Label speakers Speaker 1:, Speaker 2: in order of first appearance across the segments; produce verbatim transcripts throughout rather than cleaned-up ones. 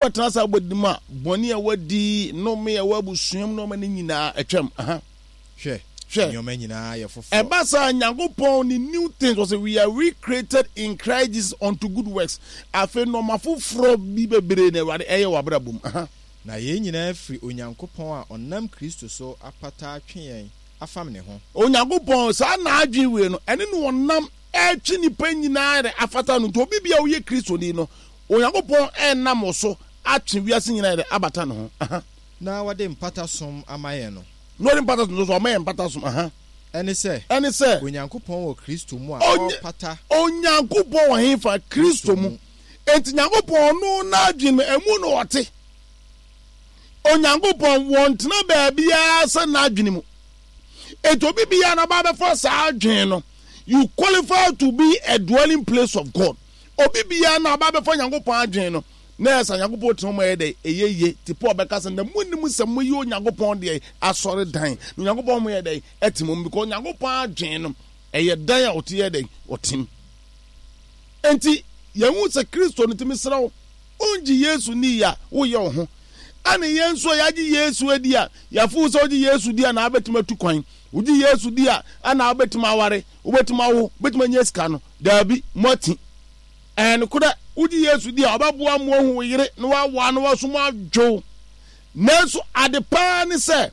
Speaker 1: Wobɛtena saa abɔde mu a, bɔne a wadi, nnome a ɛwɔ abusua mu, nneɛma no nyinaa atwam. Aha.
Speaker 2: Hwɛ,
Speaker 1: Hwɛ.
Speaker 2: Nneɛma nyinaa yɛ foforɔ.
Speaker 1: Ɛba saa, Nyankopɔn ne new things, ɔsɛ we are recreated in Christ Jesus unto good works. Afei nneɛma foforɔ bi bebree na Awurade ɛyɛ wɔ abrabɔ mu. Aha.
Speaker 2: Na yɛn nyinaa firi Onyankopɔn a ɔnam Kristo so apata atwe yɛn afam ne ho.
Speaker 1: Onyankopɔn saa n'adwene wei no, ɛne no ɔnam ɛtwe nipa nyinaa de afata no. Nti obi bia woyɛ Kristoni no, Onyankopɔn ɛnam wo so atwe wiase nyinaa de abata ne ho. Aha.
Speaker 2: Na wɔde mpata som ama yɛn no.
Speaker 1: Na wɔde mpata som so, ɔma yɛn mpata som. Aha.
Speaker 2: Ɛne sɛ.
Speaker 1: Ɛne sɛ.
Speaker 2: Onyankopɔn wɔ Kristo mu a
Speaker 1: Onye-
Speaker 2: ɔrepata.
Speaker 1: Onyankopɔn wɔ hefa? Kristo mu. Enti Nyankopɔn ɔno n'adwene mu, ɛmu na ɔte. Onyankopɔn wɔntena baabiara sɛ n'adwene mu. Enti obi biara na ɔba abɛfa saa adwene no, you qualify to be a dwelling place of God. Obi biara na ɔba abɛfa Nyankopɔn adwene no, na ɛsɛ Nyankopɔn tena mu ɛyɛ dɛ, ɛyɛ yie. Te Paul bɛka sɛ, na munnim sɛ moyɛ Onyankopɔn deɛ asɔredan, na Onyankopɔn mo yɛ dɛ, ɛte mu, because Onyankopɔn adwene no, ɛyɛ dan a ɔte yɛ dɛ, ɔte mu. Enti yɛhu sɛ Kristo no tumi serɛ wo, wongye Yesu ni a, woyɛ wo ho. Ɛne yɛn nso a yɛagye Yesu adi a, yɛafo sɛ wogye Yesu di a na wabɛtumi atu kwan. Wogye Yesu di a, ɛna wobɛtumi aware, wobɛtumi awo, wobɛtumi anya sika no. Daabi, moati. Ɛyɛ nokorɛ, wogye Yesu di a, ɔbɛboa mo ahu wo yere na wawa na waso mo adwo. Nanso ade paa ne sɛ,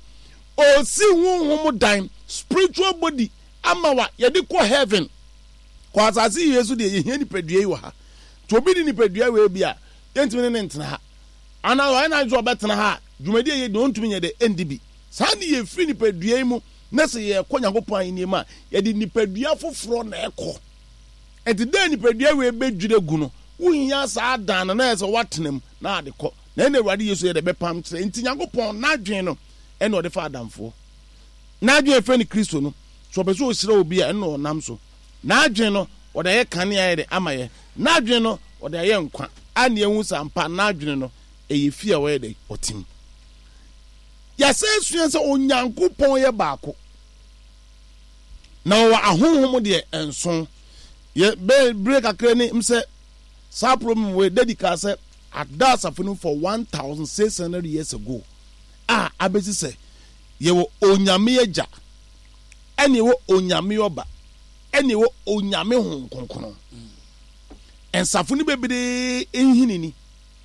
Speaker 1: ɔsi honhom dan, spiritual body, ama wa yɛde kɔ heaven. Kɔ asase yi so deɛ, yɛhia nipadua yi wɔ ha. Nti obi de nipadua wei bi a, yɛntumi ne ne ntena ha. Anaa ɔyɛ n'adwene sɛ ɔbɛtena ha a, dwumadi a ɛyɛ di no, ɔntumi nyɛ dɛ, ɛndi bi. Saa ne yɛfiri nipadua yi mu na sɛ yɛkɔ Nyankopɔn ahenni mu a, yɛde nipadua foforɔ na ɛkɔ. Nti dɛ nipadua wei bɛdwiri agu no, wohia saa dan no na ɛyɛ sɛ woatena mu na ade kɔ. Na ɛna Awurade Yesu yɛ dɛ bɛpam kyerɛ. Nti Nyankopɔn n'adwene no ɛna ɔde fa adamfoɔ. N'adwene a ɛfrɛ no Kristo no, sɛ ɔpɛ sɛ ɔhyira obi a, ɛno na ɔnam so. N'adwene no, ɔde ayɛ kanea yɛ de ama yɛ. N'adwene no, ɔde ayɛ nkwa. A ne yɛhu sɛ ampa n'adwene no, ɛyɛ fie a ɔyɛ dɛ, ɔte mu. Yɛasan sua sɛ Onyankopɔn yɛ baako. Na ɔwɔ ahonhom deɛ nson. Yɛ bɛɛ bere kakra ni m sɛ saa problem wei dadi kaa sɛ ada asafo no for one thousand six hundred years ago a abɛsi sɛ yɛwɔ Onyame Agya, ɛne ɛwɔ Onyame Ɔba, ɛne ɛwɔ Onyame Honhom Kronkron. Nsafo no bebree nhini ni.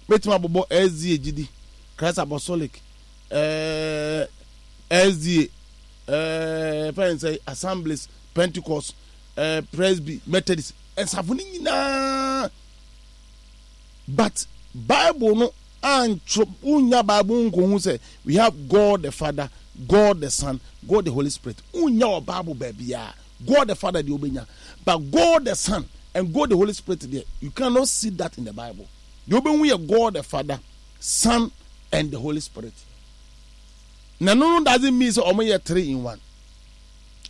Speaker 1: Mɛtumi abobɔ S D A gyidi, Christ Apostolic, ɛɛ S D A, ɛɛ fɛn sɛ Assemblies, Pentecost, ɛɛ Presby, Methodist, nsafo no nyinaa. But Bible no antwerɛ, wonya Bible nkohu sɛ we have God the Father, God the Son, God the Holy Spirit. Wonya wɔ Bible baabiara. God the Father deɛ wobɛnya, but God the Son and God the Holy Spirit deɛ, you cannot see that in the Bible. Deɛ wobɛhu yɛ God the Father, Son and the Holy Spirit. Na no no doesn't mean sɛ ɔmo yɛ three in one.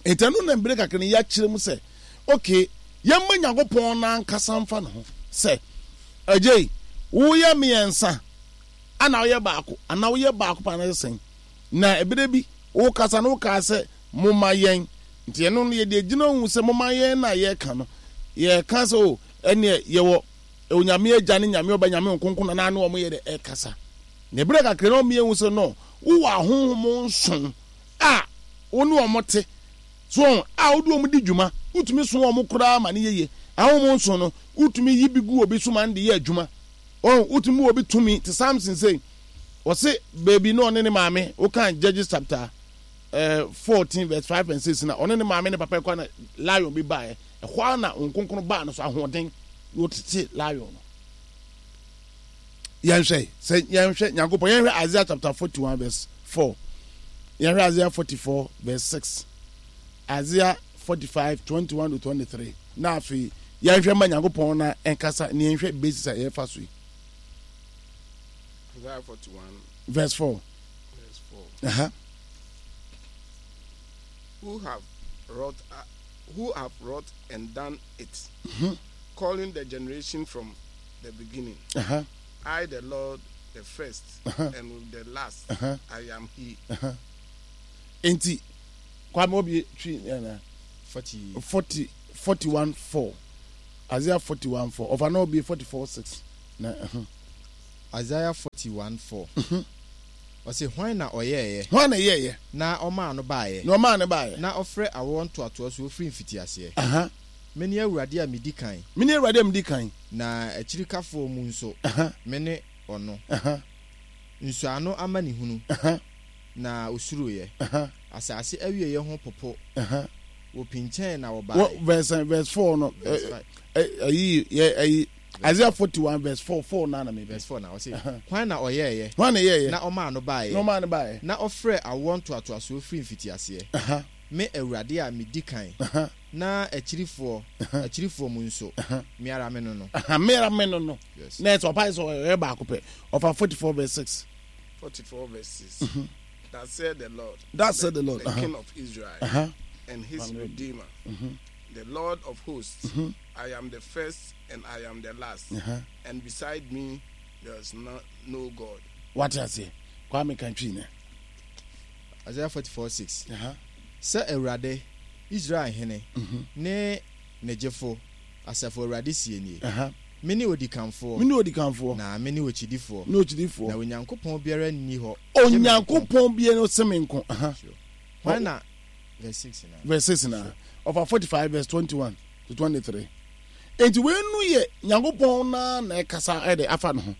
Speaker 1: Nti ɛno na mbere kakra no yɛakyerɛ mu sɛ okay, yɛmma Nyankopɔn n'ankasa mfa ne ho sɛ agyei woyɛ mmiɛnsa ana woyɛ baako anaa woyɛ baako pa anaa sɛn. Na ebere bi wokasa no, wokaa sɛ moma yɛn, nti ɛno no yɛde agyina hu sɛ moma yɛn na yɛka no, yɛka sɛ o ɛneɛ yɛwɔ Onyame Agya ne Nyame Ɔba, Nyame Nkonkron na ne wɔn yɛ dɛ ɛkasa. Na ebere kakra na wɔn yɛhu sɛ no wowɔ ahonhom nson a wo ne wɔn te so a wode wɔn di dwuma, wotumi so wɔn koraa ma ne yɛye. Ahonhom nson no, wotumi yi bi gu obi so ma no de yɛ adwuma. Wɔn wotumi mu obi tumi te Samson sei, wɔse beebi na ɔne ne maame, wokan Judges chapter eh, fourteen verse five and six, na ɔne ne maame ne papa kɔ na lion bi baeɛ. Ɛhɔ ara na wɔn nkonkron baa no so ahoɔden na wɔtete lion no. Yɛnhwɛ sɛ yɛnhwɛ Nyankopɔn, yɛnhwɛ Isaiah chapter forty-one verse four, yɛnhwɛ Isaiah forty-four verse six, Isaiah forty-five twenty-one to twenty-three, na afei yɛnhwɛ ma Nyankopɔn na ɛnkasa na yɛnhwɛ basis a yɛfa so yi.
Speaker 3: Isaiah forty-one
Speaker 1: verse four.
Speaker 3: Verse four.
Speaker 1: Uh-huh.
Speaker 3: Who have wrought, uh, who have wrought and done it,
Speaker 1: mm-hmm.
Speaker 3: calling the generation from the beginning?
Speaker 1: Uh-huh.
Speaker 3: I, the Lord, the first
Speaker 1: uh-huh.
Speaker 3: and the last,
Speaker 1: uh-huh.
Speaker 3: I am He.
Speaker 1: Uh-huh. Enti Kwame obi twi ɛna
Speaker 2: forty
Speaker 1: forty forty-one four, Isaiah forty-one four, ɔfa na obi forty-four six na uh-huh.
Speaker 2: Isaiah forty-one four. Ɔse, hwan na ɔyɛɛyɛ?
Speaker 1: Hwan na ɛyɛɛyɛ?
Speaker 2: Na ɔmaa no baeɛ.
Speaker 1: Na ɔmaa no baeɛ.
Speaker 2: Na ɔfrɛ awoɔ ntoatoasoɔ firi mfitiaseɛ.
Speaker 1: Aha.
Speaker 2: Mene Awurade a medi kan.
Speaker 1: Mene Awurade a medi kan.
Speaker 2: Na akyirikafoɔ mu nso,
Speaker 1: Aha.
Speaker 2: mene ɔno.
Speaker 1: Aha.
Speaker 2: Nsuano amanehunu,
Speaker 1: Aha.
Speaker 2: na osuroeɛ.
Speaker 1: Aha.
Speaker 2: Asase awieeɛ ho popo.
Speaker 1: Aha.
Speaker 2: Wɔpinkyɛn na
Speaker 1: Wɔ
Speaker 2: wɔbaeɛ.
Speaker 1: verse verse four no.
Speaker 2: Verse
Speaker 1: ɛ-
Speaker 2: five.
Speaker 1: ɛ- Ɛyi yɛ ɛyi Isaiah forty one verse four four na na mebe.
Speaker 2: Verse four na ɔse,
Speaker 1: Aha.
Speaker 2: hwan na ɔyɛɛyɛ?
Speaker 1: Hwan na ɛyɛɛyɛ?
Speaker 2: Na ɔmaa no baeɛ.
Speaker 1: Na ɔmaa no baeɛ.
Speaker 2: Na ɔfrɛ awoɔ ntoatoasoɔ firi mfitiaseɛ.
Speaker 1: Aha.
Speaker 2: Me Awurade a medi kan.
Speaker 1: Aha.
Speaker 2: Na akyirifoɔ,
Speaker 1: Aha.
Speaker 2: akyirifoɔ mu nso,
Speaker 1: Aha.
Speaker 2: me ara me no no.
Speaker 1: Aha. Me ara me no no.
Speaker 2: Yes.
Speaker 1: Na ɛsɛ ɔpa sɛ ɔyɛ baako pɛ. Ɔfa forty four verse six.
Speaker 3: Forty-four verse six. That said the Lord.
Speaker 1: That said the Lord.
Speaker 3: The
Speaker 1: Uh-huh.
Speaker 3: King of Israel
Speaker 1: Uh-huh.
Speaker 3: and his Redeemer, the Lord of hosts. I am the first and I am the last,
Speaker 1: Uh-huh.
Speaker 3: and beside me there is no, no God.
Speaker 1: Wate aseɛ. Kwame kan twi ne.
Speaker 2: Isaiah forty-four six.
Speaker 1: Aha.
Speaker 2: Sɛ Awurade, Israel hene, ne ne gyefo, asafo Awurade sie nie.
Speaker 1: Aha.
Speaker 2: Me ne odikanfoɔ,
Speaker 1: Me ne odikanfoɔ.
Speaker 2: na me ne okyidifoɔ.
Speaker 1: Ne okyidifoɔ.
Speaker 2: Na Onyankopɔn biara nni hɔ. gye me nko.
Speaker 1: Onyankopɔn biara no sɛ me nko. Aha.
Speaker 2: Sure. Hwan na verse six na.
Speaker 1: Verse six na. Ɔfa forty five verse twenty one to twenty three. Enti wei no yɛ Nyankopɔn na na ɛkasa ɛde afa ne ho.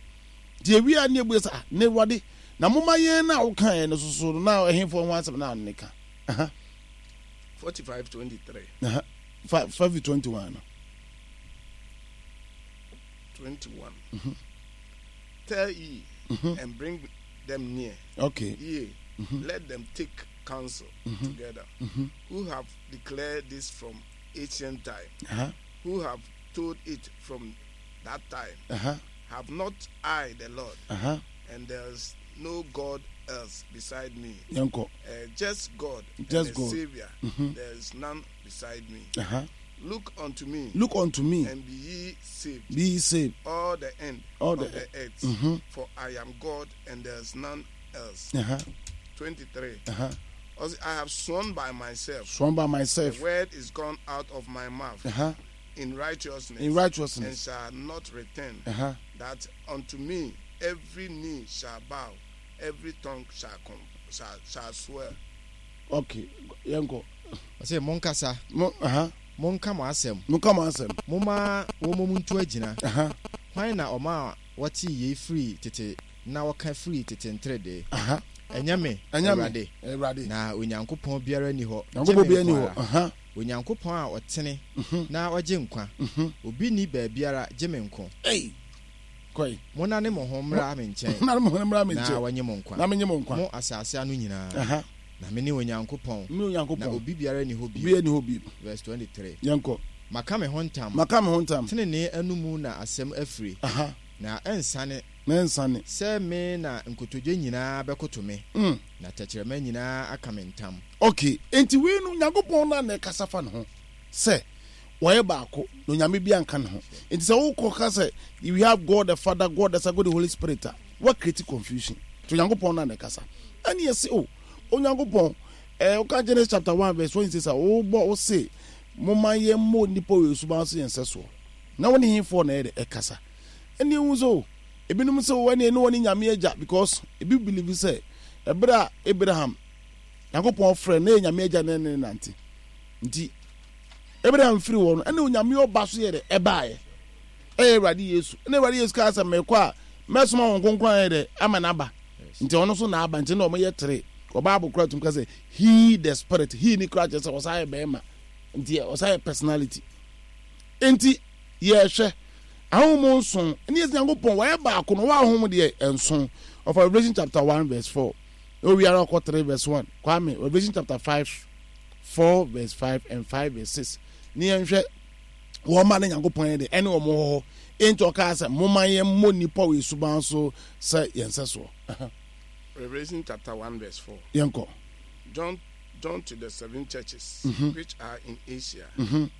Speaker 1: Nti ewia ne ebu sɛ ah ne Awurade na moma yɛn na woka yɛn no soso no na ɛhenfoɔ ho asɛm na ne ka. Aha.
Speaker 3: Forty-five twenty-three.
Speaker 1: Aha. Five five twenty one no.
Speaker 3: Twenty-one. Tell ye and bring them near.
Speaker 1: Okay.
Speaker 3: Yea, let them take counsel together. Who have declared this from ancient time?
Speaker 1: Aha.
Speaker 3: Who have told it from that time?
Speaker 1: Aha.
Speaker 3: Have not I the Lord?
Speaker 1: Aha.
Speaker 3: And there is no God else beside me.
Speaker 1: Yɛnkɔ.
Speaker 3: Uh, just God
Speaker 1: Just
Speaker 3: and a
Speaker 1: God.
Speaker 3: Savior. There is none beside me.
Speaker 1: Aha.
Speaker 3: Look unto me
Speaker 1: Look unto me.
Speaker 3: and be ye saved,
Speaker 1: Be ye saved.
Speaker 3: all the end
Speaker 1: All
Speaker 3: of
Speaker 1: the-
Speaker 3: the, earth. For I am God and there is none else.
Speaker 1: Aha.
Speaker 3: Twenty-three.
Speaker 1: Aha.
Speaker 3: Also, I have sworn by myself.
Speaker 1: Sworn by myself.
Speaker 3: The word is gone out of my mouth
Speaker 1: Aha.
Speaker 3: in righteousness,
Speaker 1: In
Speaker 3: and
Speaker 1: righteousness.
Speaker 3: shall not return.
Speaker 1: Aha.
Speaker 3: That unto me every knee shall bow, every tongue shall come, shall, shall swear.
Speaker 1: Okay. Yɛnkɔ.
Speaker 2: Ɔse monkasa,
Speaker 1: Mo aha.
Speaker 2: monka mo asɛm.
Speaker 1: Monka mo asɛm.
Speaker 2: Momma wɔmmɔ mu nto agyina.
Speaker 1: Aha.
Speaker 2: Hwan na ɔma wɔtee yei firi tete na wɔka firi tete nteredee?
Speaker 1: Aha.
Speaker 2: Ɛnyɛ me,
Speaker 1: Ɛnyɛ me.
Speaker 2: Awurade.
Speaker 1: Awurade.
Speaker 2: Na Onyankopɔn biara nni hɔ. gye
Speaker 1: Nyankopɔn
Speaker 2: me
Speaker 1: biara nni
Speaker 2: nko
Speaker 1: hɔ.
Speaker 2: ara.
Speaker 1: Aha.
Speaker 2: Onyankopɔn a ɔtene na ɔgye nkwa. Obi nni baabiara gye me nko.
Speaker 1: Ei. Kɔe.
Speaker 2: Monnane mo ho mmra me nkyɛn
Speaker 1: Na mo ho mmra me
Speaker 2: na
Speaker 1: nkyɛn.
Speaker 2: wɔnye mo nkwa.
Speaker 1: Na menye mo nkwa.
Speaker 2: Mo asase ano nyinaa.
Speaker 1: Aha.
Speaker 2: Na me ne Onyankopɔn.
Speaker 1: Me Onyankopɔn.
Speaker 2: Na obi biara nni hɔ bio.
Speaker 1: Obiara nni hɔ bio.
Speaker 2: Verse twenty-three.
Speaker 1: Yɛnkɔ.
Speaker 2: Maka me ho ntam.
Speaker 1: Maka me ho ntam.
Speaker 2: Tenenee anomu na asɛm afiri.
Speaker 1: Aha.
Speaker 2: Na ɛnsane.
Speaker 1: Na ɛnsane.
Speaker 2: Sɛ me na nkotodwe nyinaa bɛkoto me.
Speaker 1: Mm.
Speaker 2: Na tɛkyerɛma nyinaa aka me ntam.
Speaker 1: Okay. Enti wei no Nyankopɔn na na ɛkasa fa ne ho sɛ wɔyɛ baako na Onyame bi anka ne ho. Enti sɛ wokɔ ka sɛ we have God the Father, God the Son, God the Holy Spirit a, wa create confusion. Nti Onyankopɔn na na ɛkasa. Ɛne yɛse o Onyankopɔn eh, woka Genesis chapter one verse twenty-six a wobɔ wo se momma yɛmmɔ nnipa wɔ yɛn suban so yɛn nsɛsoɔ. Na wo ne hefoɔ na ɛyɛ de ɛkasa. Ɛne ehu sɛ o ebinom sɛ o ɛne ɛne wɔne Nyame agya because ebi believe sɛ ɛberɛ a Abraham Nyankopɔn frɛ na yɛ Nyame agya ne ne nante. Nti Abraham firi hɔ no ɛne Onyame ɔba so yɛ de ɛbaeɛ. Ɛyɛ Awurade Yesu. Ɛne Awurade Yesu kaa sɛ mekɔ a mɛsoma wɔn kronkron ayɛ dɛ ama n'aba. Nti ɔno nso na aba nti na ɔmo yɛ tere. Wɔ Bible koraa tum ka sɛ he the spirit. He ni koraa kyerɛ sɛ ɔsan yɛ bɛrima. Nti ɔsan yɛ personality. Nti yɛhwɛ ahonhom nson ɛne yɛsɛ Nyankopɔn wɔyɛ baako no wɔn ahonhom deɛ nson. Ɔfa Revelation chapter one verse four. Na owiara ɔkɔ three verse one. Kwame Revelation chapter five four verse five and five verse six. Ne yɛnhwɛ wɔn ma ne Nyankopɔn yɛ de ɛne wɔn wɔ hɔ. Enti ɔkaa sɛ momma yɛn mmɔ nnipa wɔ esuban so sɛ yɛn sɛ soɔ.
Speaker 3: Revelation chapter one verse four.
Speaker 1: Yɛnkɔ.
Speaker 3: John, John to the seven churches
Speaker 1: Mm-hmm.
Speaker 3: which are in Asia,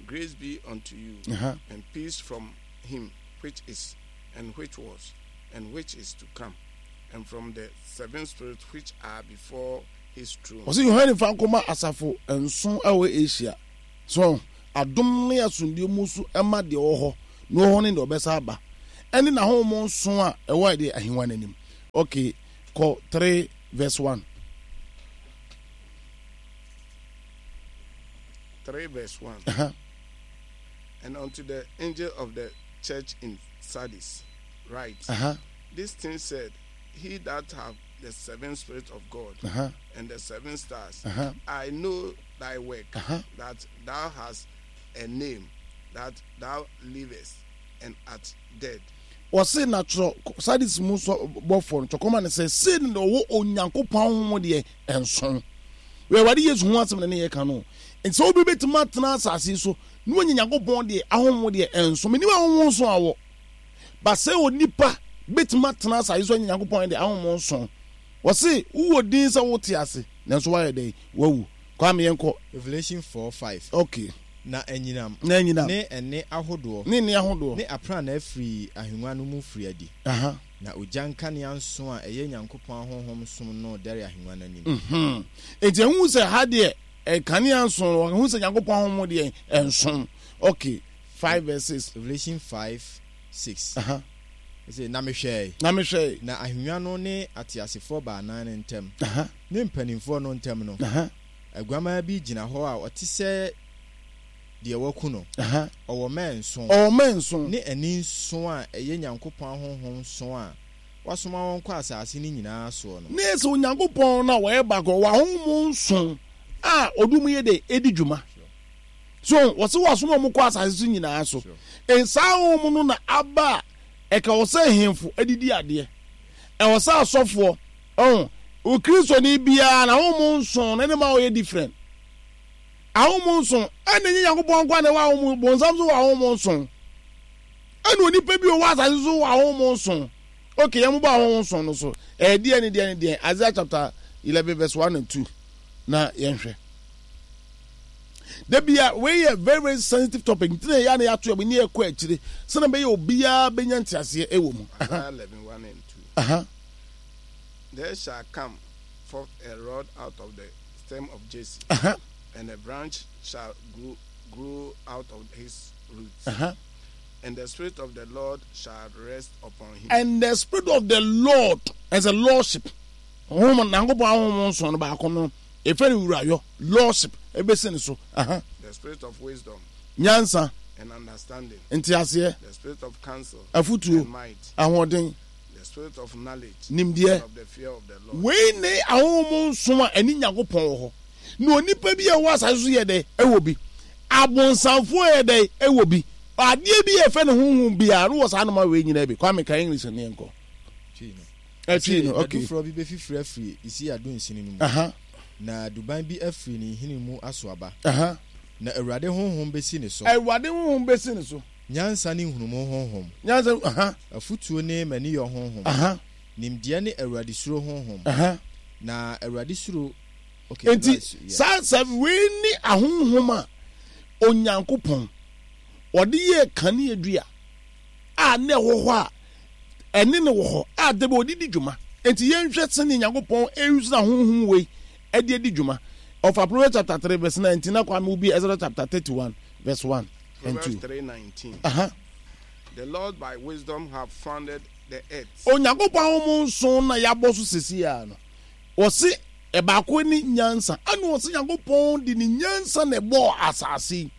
Speaker 3: grace be unto you,
Speaker 1: Uh-huh.
Speaker 3: and peace from him which is, and which was, and which is to come, and from the seven spirits which are before his throne.
Speaker 1: Ɔsɛ Yohane fa nkɔma asafo nson a ɛwɔ Asia. So adom ne asomdue mu so ɛma deɛ ɔwɔ hɔ na ɔwɔ hɔ ne deɛ ɔbɛsa aba. ɛne n'ahonhom nson a ɛwɔ ɛde ahengua no anim. Okay, kɔ three verse one.
Speaker 3: three verse one.
Speaker 1: Uh-huh.
Speaker 3: And unto the angel of the church in Sardis write,
Speaker 1: Uh-huh.
Speaker 3: This thing said, He that hath the seven spirits of God
Speaker 1: Uh-huh.
Speaker 3: and the seven stars,
Speaker 1: Uh-huh.
Speaker 3: I know thy work,
Speaker 1: Uh-huh.
Speaker 3: that thou hast a name, that thou livest and art dead.
Speaker 1: Wɔse na twerɛ Sardis mu sɔ bɔfoɔ no twɛkɔma no sɛ sei na ɔwɔ Onyankopɔn ahonhom deɛ nson. Wei Awurade Yesu ho asɛm na ne yɛka no. Nti sɛ obi bɛtumi atena asase yi so na wanya Nyankopɔn deɛ ahonhom deɛ nson, menim ahonhom nson a wɔ, ba sɛ onipa bɛtumi atena asase so anya Nyankopɔn deɛ ahonhom nson. Wɔse wowɔ din sɛ wote ase nanso woayɛ dɛn? Wawu. Kwame yɛnkɔ.
Speaker 2: Revelation four five.
Speaker 1: Okay.
Speaker 2: Na anyinam.
Speaker 1: Na anyinam.
Speaker 2: Ne ɛnne ahodoɔ.
Speaker 1: Ne nne ahodoɔ.
Speaker 2: Ne aprannaa firii ahennwa no mu firii adi.
Speaker 1: Aha.
Speaker 2: Na ogya nkanea nson a ɛyɛ Nyankopɔn ahonhom nson no redɛre ahennwa no anim.
Speaker 1: Mhm. Enti ɛhu sɛ ha deɛ nkanea nson no, ɛhu sɛ Nyankopɔn ahonhom deɛ nson. Okay, five verse six.
Speaker 2: Revelation five six.
Speaker 1: Aha.
Speaker 2: Ɛsɛ, na mehwɛe.
Speaker 1: Na mehwɛe.
Speaker 2: Na ahennwa no ne ateasefoɔ baanan no ntam,
Speaker 1: Aha.
Speaker 2: ne mpanimfoɔ no ntam no,
Speaker 1: Aha.
Speaker 2: aguamaa bi gyina hɔ a ɔte sɛ deɛ wɔaku no.
Speaker 1: Aha.
Speaker 2: Ɔwɔ mmɛn nson.
Speaker 1: Ɔwɔ mmɛn nson.
Speaker 2: Ne ani nson a ɛyɛ Nyankopɔn ahonhom nson a wasoma wɔn kɔ asase no nyinaa soɔ no.
Speaker 1: Ne sɛ Onyankopɔn no a wɔyɛ baako, ɔwɔ ahonhom nson a ɔde wɔn yɛ dɛ edi dwuma. So wɔsɛ wɔasoma wɔn kɔ asase so nyinaa so. Nsaa ahonhom no na aba a ɛka wɔ sɛ ahemfo adidi adeɛ. Ɛwɔ sɛ asɔfoɔ, ɔho, Okristoni biara na ahonhom nson no ne ma ɔyɛ different. Ahonhom nson, ɛna ɛnyɛ Nyankopɔn nko na ɛwɔ ahonhom, bonsam nso wɔ ahonhom nson. Ɛna onipa bi ɔwɔ asase so wɔ ahonhom nson. Okay, yɛn bɔ ahonhom nson no so. Ɛyɛ deɛ ne deɛ ne deɛ. Isaiah chapter eleven verse one and two. Na yɛnhwɛ. Da bia wei yɛ very very sensitive topic nti na yɛ na yɛato yɛ ne yɛkɔ akyire sɛnɛ bɛyɛ obiara bɛnya nteaseɛ ɛwɔ mu.
Speaker 3: Isaiah eleven one and two.
Speaker 1: Uh-huh.
Speaker 3: There shall come forth a rod out of the stem of Jesse,
Speaker 1: uh-huh.
Speaker 3: and a branch shall grow, grow out of his roots.
Speaker 1: Uh-huh.
Speaker 3: And the Spirit of the Lord shall rest upon him.
Speaker 1: And the Spirit of the Lord as a lordship. Honhom Nyankopɔn ahonhom nson no baako no efe ne wurayɔ lordship ebesi ne so. Uh-huh.
Speaker 3: The Spirit of wisdom.
Speaker 1: Nyansa.
Speaker 3: And understanding.
Speaker 1: Nteaseɛ.
Speaker 3: The Spirit of counsel.
Speaker 1: Afutuo.
Speaker 3: And might.
Speaker 1: Ahoɔden.
Speaker 3: The Spirit of knowledge.
Speaker 1: Nimdeɛ.
Speaker 3: And of the fear of the Lord.
Speaker 1: Wei ne ahonhom nson a ɛne Nyankopɔn wɔ hɔ. Na onipa bi a ɛwɔ asase so yɛ dɛ ɛwɔ bi. Abonsamfoɔ yɛ dɛ ɛwɔ bi. Adeɛ bi a ɛfɛ ne honhom biara no wɔ saa noma wei nyinaa bi. Kwame ka English ne yɛnkɔ. Ɛtwi no, okay.
Speaker 2: Aduforɔ bi bɛfifiri afiri Isia dunsini no mu.
Speaker 1: Aha.
Speaker 2: Na duban bi afiri ne nhini mu aso aba.
Speaker 1: Aha.
Speaker 2: Na Awurade honhom bɛsi ne so.
Speaker 1: Awurade honhom bɛsi ne so.
Speaker 2: Nyansa ne nhunumu honhom.
Speaker 1: Nyansa, aha.
Speaker 2: Afutuo ne maniyɔ honhom.
Speaker 1: Aha.
Speaker 2: Nimdeɛ ne Awurade suro honhom.
Speaker 1: Aha.
Speaker 2: Na Awurade suro. Okay,
Speaker 1: Enti saa sɛ wei ne ahonhom a Onyankopɔn ɔde yɛɛ kaneadua a na ɛwɔ hɔ a ɛne no wɔ hɔ a da bi ɔde di dwuma. Enti yɛnhwɛ sɛnea Nyankopɔn ɛuse n'ahonhom wei ɛde adi dwuma. Ɔfa Proverbs chapter three verse nineteen na Kwame wobi Exodus chapter thirty-one verse one and two.
Speaker 3: Proverbs three nineteen.
Speaker 1: Aha.
Speaker 3: The Lord by wisdom have founded the earth.
Speaker 1: Onyankopɔn ahonhom nson na yɛabɔ so sisi a no. Wɔse ɛbaako ne nyansa. Ɛna wɔse Nyankopɔn de ne nyansa na ɛbɔɔ asase yi.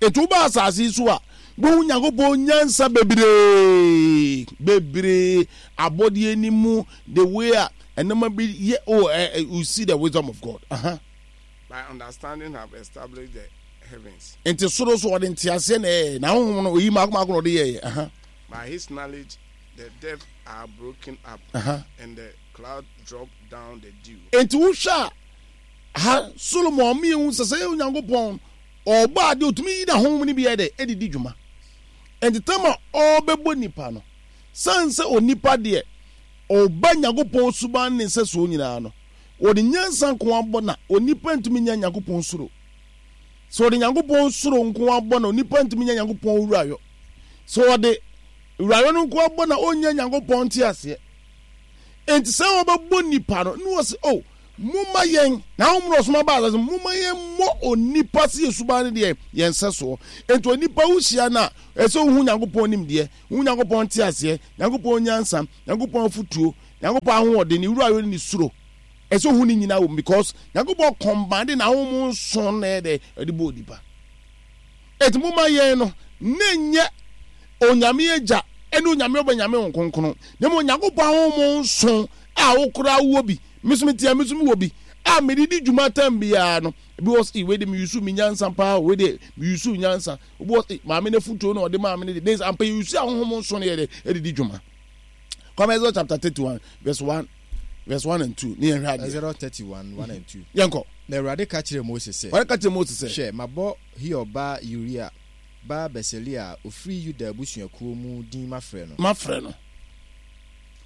Speaker 1: Enti woba asase yi so a, wohu Nyankopɔn nyansa bebree, bebree, abɔdeɛ ni mu, the way a nneɛma bi yɛ, oh, eh, eh, you see the wisdom of God. Uh-huh.
Speaker 3: By understanding have established the heavens.
Speaker 1: Enti soro so ɔde nteaseɛ na ɛyɛ, na honhom no oyi mako mako na ɔde yɛɛ. Uh-huh.
Speaker 3: By his knowledge the depths are broken up,
Speaker 1: uh-huh.
Speaker 3: and the cloud drop down the dew.
Speaker 1: Enti wohwɛ a ha Solomon ɔmo yɛ hu sɛ sɛ Onyankopɔn ɔbɔ ade otumi yi n'ahonhom no bi yɛ dɛ ɛde di dwuma. Enti tam a ɔrebɛbɔ nipa no, san sɛ onipa deɛ ɔba Nyankopɔn suban ne nsɛsoɔ nyinaa no, wɔde nyansa nko abɔ na onipa ntumi nya Nyankopɔn suro. Sɛ ɔde Nyankopɔn suro nko abɔ na onipa ntumi nya Nyankopɔn wurayɔ. Sɛ ɔde wurayɔ no nko abɔ na ɔnnya Nyankopɔn nteaseɛ. Enti sɛ wɔbɛbɔ nipa no, ne wɔ sɛ, oh, Momma yɛn, na honhom na ɔsoma baa asase, momma yɛmmɔ onipa sɛ yɛn suban ne deɛ yɛn nsɛsoɔ. Enti onipa wohyia no a, ɛsɛ sɛ wohu Nyankopɔn nimdeɛ, wohu Nyankopɔn nteaseɛ, Nyankopɔn nyansa, Nyankopɔn afotuo, Nyankopɔn ahoɔden, ne wura ne ne suro. Ɛsɛ sɛ wohu ne nyinaa wɔ mu because Nyankopɔn kɔmbande n'ahonhom nson na ɛyɛ dɛ ɛde bɔ onipa. Enti momma yɛn no, na ɛnyɛ Onyame Agya ne Onyame Ɔba Nyame Honhom Kronkron, na mmom Onyankopɔn ahonhom nson a wo koraa wowɔ bi, me nso mete a me nso mewɔ bi, a mede di dwuma tam biara no. Ebi wɔ sɛ, wei de me yusu me nyansa paa, wei de me yusu nyansa. Obi wɔ sɛ, maame no afutuo na ɔde maa me no de, ne ampa yɛ yusu ahonhom nson no yɛ de ɛde di dwuma. Kwame Exodus chapter thirty one verse one verse one and two ne yɛn hwɛ adeɛ.
Speaker 2: Exodus thirty one one and two.
Speaker 1: Yɛn kɔ.
Speaker 2: Na Awurade ka kyerɛɛ Mose sɛ.
Speaker 1: Awurade ka kyerɛɛ Mose sɛ.
Speaker 2: Hwɛ, mabɔ Hur ba Uria ba Besaleel a ɔfiri Yuda abusuakuo mu din mafrɛ no.
Speaker 1: Mafrɛ no.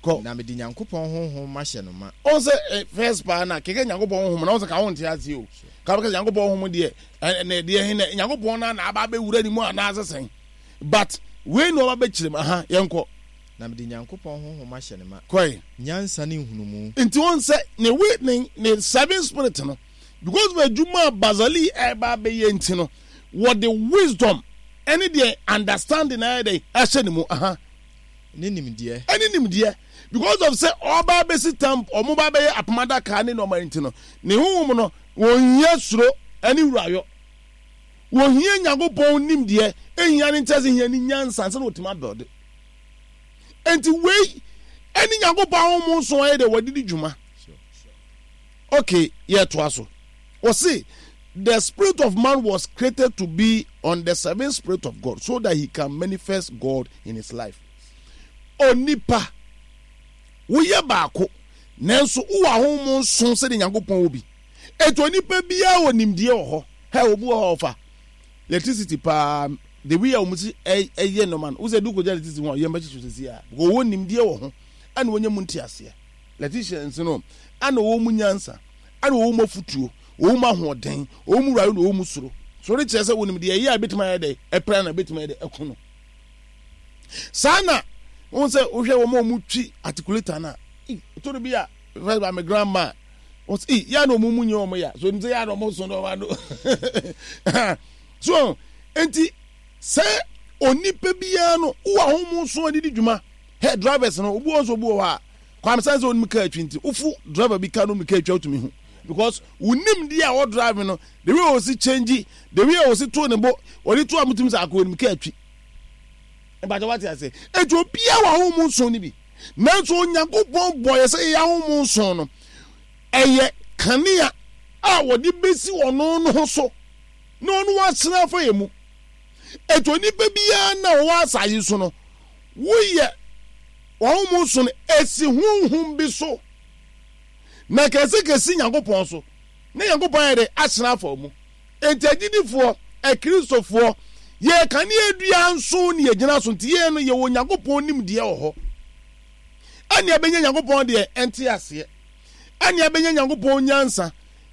Speaker 1: Kɔ.
Speaker 2: Na mede Nyankopɔn honhom mahyɛ no ma.
Speaker 1: Ɔn sɛ eh, first paa na kɛkɛ Nyankopɔn honhom na ɔn sɛ ka wonte ase o. Ka bɛka sɛ Nyankopɔn honhom deɛ ɛna ɛdeɛ he na Nyankopɔn na na aba abɛwura ne mu anaasɛ sɛn. But wei na ɔba bɛkyerɛ mu aha yɛnkɔ.
Speaker 2: Na mede Nyankopɔn honhom ahyɛ no ma.
Speaker 1: Kɔe.
Speaker 2: Nyansa ne nhunumu.
Speaker 1: Nti wɔn sɛ ne we ne ne seven spirit no because of adwuma a Bazali ɛreba abɛyɛ nti no wɔde wisdom ɛne deɛ understanding ayɛ dɛ ahyɛ ne mu aha.
Speaker 2: Ne nimdeɛ.
Speaker 1: Ɛne nimdeɛ because of sɛ ɔba abɛsi tam ɔmo ba abɛyɛ apam adaka ne nneɛma nti no ne honhom no wɔn hia suro ɛne wurayɔ. Wɔhia Nyankopɔn nimdeɛ, ehia ne ntease, ehia ne nyansa ansa na wɔtumi abɛlde. Enti wei ɛne Nyankopɔn ahonhom nson ayɛ dɛ wɔde di dwuma. Okay, yɛtoa so. Wɔse the spirit of man was created to be on the seven spirit of God so that he can manifest God in his life. Onipa, woyɛ baako, nanso wowɔ ahonhom nson sɛdeɛ Nyankopɔn wɔ bi. Enti onipa biara wɔ nimdeɛ wɔ hɔ. Hɛ, obi wɔ hɔ a ɔfa electricity paa, the way a wɔn si ɛyɛ nneɛma no, wosɛ du kɔgya electricity ho a, yɛn bɛkyekye sisi a, because wɔwɔ nimdeɛ wɔ ho, ɛna wɔnya mu nteaseɛ. Electricians no, ɛna wɔwɔ mu nyansa, ɛna wɔwɔ mu afutuo, wɔwɔ mu ahoɔden, wɔwɔ mu wura, ɛna wɔwɔ mu soro. Soro kyerɛ sɛ wɔnim deɛ ɛyɛ a ebetumi ayɛ dɛ, ɛpra na ebetumi ayɛ dɛ, ɛko no. Saa na wɔn sɛ wohwɛ wɔn a wɔtwi articulator no a, toro bi a, first by my grandma, wɔsi ee yɛ na wɔn mu nyɛ wɔn ya so nti yɛ na wɔn so na wɔn ano so nti sɛ onipa biara no wɔ ahomu so ɔde di dwuma hɛ drivers no obi wɔ nso obi wɔ hɔ a kwame san sɛ onim kaa atwi nti wofu driver bi kaa no onim kaa atwi otumi ho because wonim di a wɔ drive no the way osi change the way osi to ne bo wɔde to a mutumi sɛ akɔ onim kaa atwi mpakyɛ wate ase eti obiara wɔ ahomu nson no bi nanso Onyankopɔn bɔ yɛ sɛ yɛyɛ ahomu nson no ɛyɛ kanea a wɔde besi ɔno no ho so na ɔno wasena afa yɛ mu. Etu onipa biara na ɔwɔ asase so no, woyɛ wɔn mu so no esi honhom bi so na kɛse kɛse Nyankopɔn so na Nyankopɔn ayɛ dɛ asena afa mu. Enti agyidifoɔ, Akristofoɔ, yɛ kanea dua nson ne yɛgyina so nti yɛn no yɛwɔ Nyankopɔn nimdeɛ wɔ hɔ. Ɛne ɛbɛnya Nyankopɔn deɛ ɛnte aseɛ. Ɛne ɛbɛnya Nyankopɔn nyansa,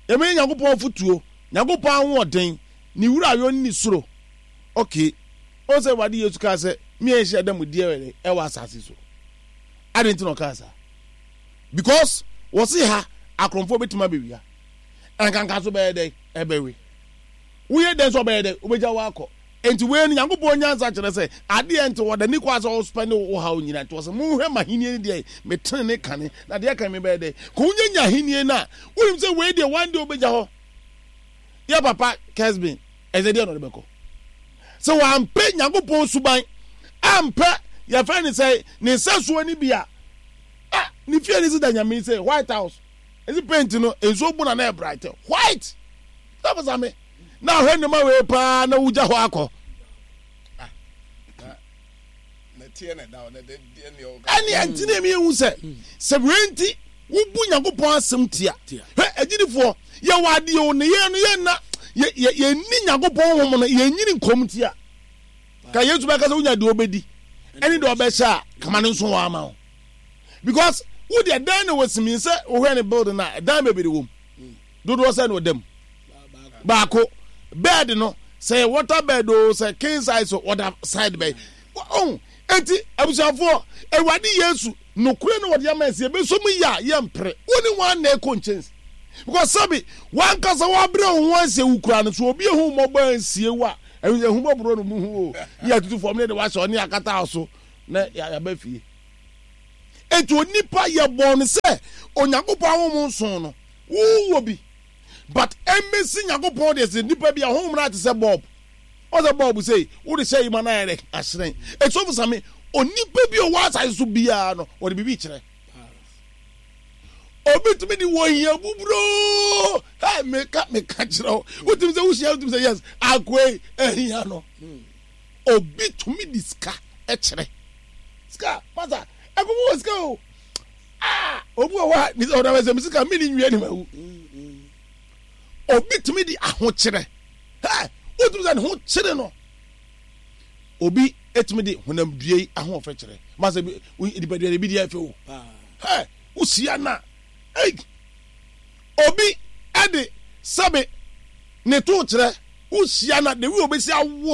Speaker 1: ɛbɛnya Nyankopɔn afotuo, Nyankopɔn ahoɔden, ne wurayɔ ne ne suro. Okay, ɔn sɛ Awurade Yesu kaa sɛ, me a nhyɛ da mu deɛ ɛwɔ asase so. Adɛn nti na ɔkaa saa? Because wɔse ha akorɔmfoɔ bɛtumi abɛwia. Ɛnkanka so bɛyɛ dɛn? Ɛbɛwe. Woyɛ dɛn sɛ ɔbɛyɛ dɛn? Wobɛgya wakɔ. Enti wei no Nyankopɔn nyansa kyerɛ sɛ adeɛ nti wɔda ni kɔ asɛ ɔspɛne wo haw nyina nti wɔsɛ monhwɛ m'ahennie no deɛ me tenene kane na deɛ kan me bɛyɛ dɛ kɔ wonya nya ahennie no a wonim sɛ wei deɛ one day wobɛgya hɔ yɛ papa Kesbin ɛsɛ deɛ na ɔde bɛkɔ sɛ wampɛ Nyankopɔn suban ampɛ yɛfrɛ ne sɛ ne nsɛsoɔ no bi a ah ne fie ne si da nyame sɛ White House ɛsi paint no nsuo bu na na ɛbright white sɛ me na ahwɛ nneɛma wei paa na wogya hɔ akɔ ɛne ɛnti na ɛmi ehu sɛ sɛ wei nti wobu Nyankopɔn asɛm tia hwɛ agyidifoɔ yɛwɔ adeɛ o ne yɛn no yɛn na yɛnni Nyankopɔn honhom no yɛnyini nkɔm tia ka Yesu bɛka sɛ wonya deɛ ɔbɛdi ɛne deɛ ɔbɛhyɛ a kama no nso wɔ ama wo because wo deɛ dan na wɔsimi sɛ wohwɛ ne building a dan bebree wɔ mu dodoɔ sɛ na ɔda mu baako bed no sɛ water bed o sɛ king size o ɔda side bɛyi ɔn eti abusuafoɔ Awurade Yesu nokore na wɔde ama ɛsɛ ebeso mu yɛ a yɛ mpere wɔn ni wɔn na ɛkɔ nkyɛnse Because sɛbi wankasa wabrɛ wo ho asie wo kura no so, obi ehu mmɔbɔ ansie wo a, ɛhu ehu mmɔborɔ no mu hu o, ne yɛtutu fam ne de wahyɛ ɔne akata so na yɛaba fie. Eti onipa yɛbɔɔ no sɛ Onyankopɔn ahonhom nson no, wowɔ bi, but ɛmmɛsi Nyankopɔn deɛ sɛ nipa bi ahonhom no ate sɛ bulb. Ɔsɛ bulb sei wode hyɛ yi ma no ayɛ dɛ ahyerɛn. Eti sɔfo Sami, onipa bi a ɔwɔ asase so biara no, wɔde biribi kyerɛ. Obi tumi de wɔ hia buburoo, ɛ meka meka kyerɛ wo, wotumi sɛ wohyia, wotumi sɛ yes, akoe ahia no. Obi tumi de sika kyerɛ. Sika masa ɛkɔmɔ wɔ sika o. Aa, obi wɔ hɔ a ne sɛ ɔdɔ sɛ sika mi ni nwia ni ma wu. Obi tumi de ahokyerɛ, ɛ wotumi sɛ ne ho kyerɛ no. Obi etumi de honam dua yi ahoɔfɛ kyerɛ. Masa bi nipadua de bi di afɛ o. Ɛ wohyia na ei, obi ɛde sɛbe ne to kyerɛ. Wohyia na de wi obesi awo.